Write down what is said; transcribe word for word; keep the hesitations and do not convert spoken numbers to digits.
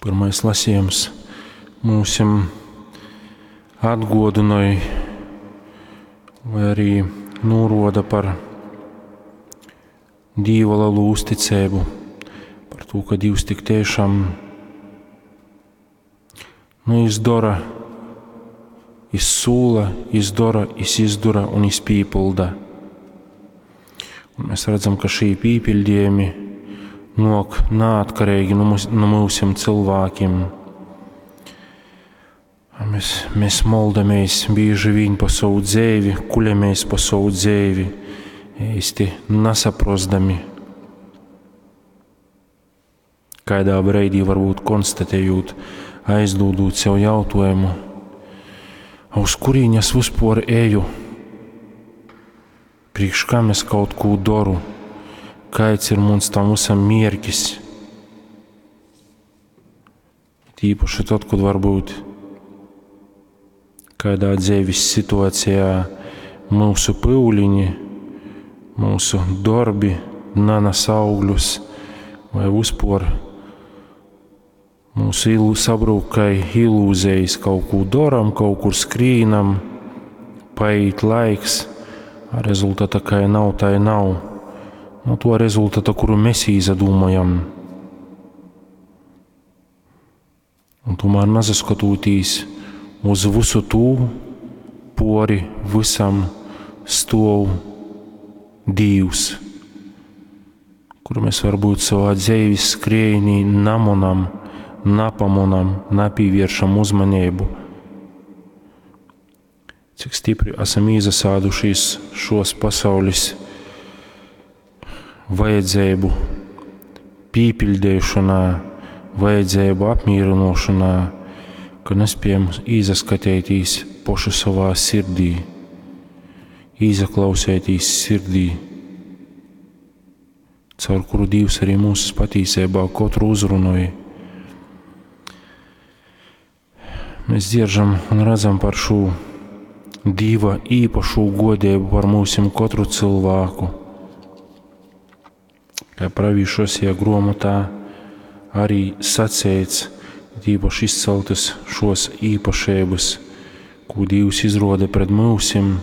Pyrmais lasījums mūsim atguodynoj vai arī nūruoda par Dīva lelu uzticeibu, par tū, ka Dīvs tik tiešām nu, izdora, izsūla, izdora, izdura un izpīpilda. Un mēs redzam, ka šī pīpildījumi nok neatkarīgi no, mums, no mūsim cilvēkiem. Mēs, mēs moldamies bieži vien pa savu dzēvi, kuļamies pa savu dzēvi, īsti nesaprostami. Kādā brīdī varbūt konstatējot, aizdodot sev jautājumu, uz kurīņas es vispār eju, priekš kam es kaut ko daru, kāds ir mums tam visam mierkis. Tīpaši tad, kad varbūt kādā dzīves situācijā mūsu pūliņi, mūsu darbi nanas augļus vai vispār mūsu ilu sabrūk kā ilūzijas, kaut ko daram, kaut kur skrīnam, paiet laiks, a rezultāta kā nav, tā i nav. No to rezultāta, kuru mēs izdomājam. Un tomēr nasaskatoties uz visu tū, pori visam stuov Dīvs, kuru mēs varbūt savā dzīves skriejnī namonam, napamonam, napīvēršam uzmanību. Cik stipri esam iesādušies šos pasaules vajadzību pīpildīšanā, vajadzību apmierinošanā, ka nespējam izaskatīties poši savā sirdī, izaklausēties sirdī, caur kuru Dievs arī mūsu patīsībā katru uzrunoja. Mēs dzieržam un redzam par šo Dieva īpašo godību par mūsim katru cilvēku. Kā pravīšosie gromotā arī sacēts, īpaši izceltas šos īpašības, ko Dievs izroda pret mūsim,